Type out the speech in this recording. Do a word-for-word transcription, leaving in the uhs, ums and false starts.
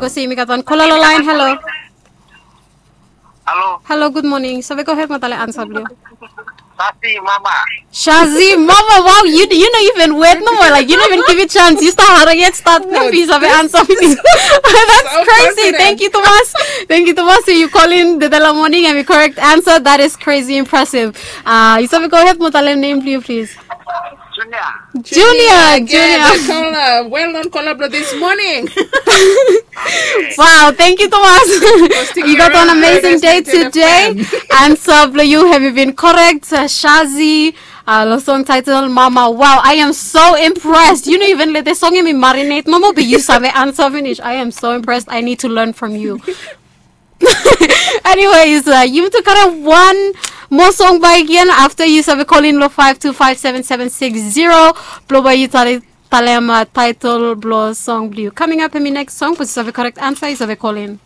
Go se yumi gat wan kola lo laen. Halo. Halo. Halo, gud moning. Save gohed mo talem ansa blong yu. Sasi mama. Shazi mama, wow, you you know even wet no more, like you don't even give it chance. You start hard yet start no be save ansa blong yu. That's crazy. Thank you, Thomas. Thank you, Thomas. You call in the Dela morning and the correct answer. That is crazy impressive. Uh, you save gohed mo talem nem blong yu, please. Junior. Junior, Junior. Kola, well known kola blo this morning. Wow, thank you, Thomas. You got one amazing day today. Ansa blong yu, have you been correct? Uh, Shazi, uh, lo song title Mama. Wow, I am so impressed. You know, even let the song in me marinate. Mama, be you save ansa finish. I am so impressed. I need to learn from you. Anyways, uh, yumi tu karem wan mo song bae gen afta yu save call in lo five two five seven seven six zero. Blong bae yu talem uh, title blo song blong yu. Coming up in mi next song, but yu save correct ansa, yu save call in.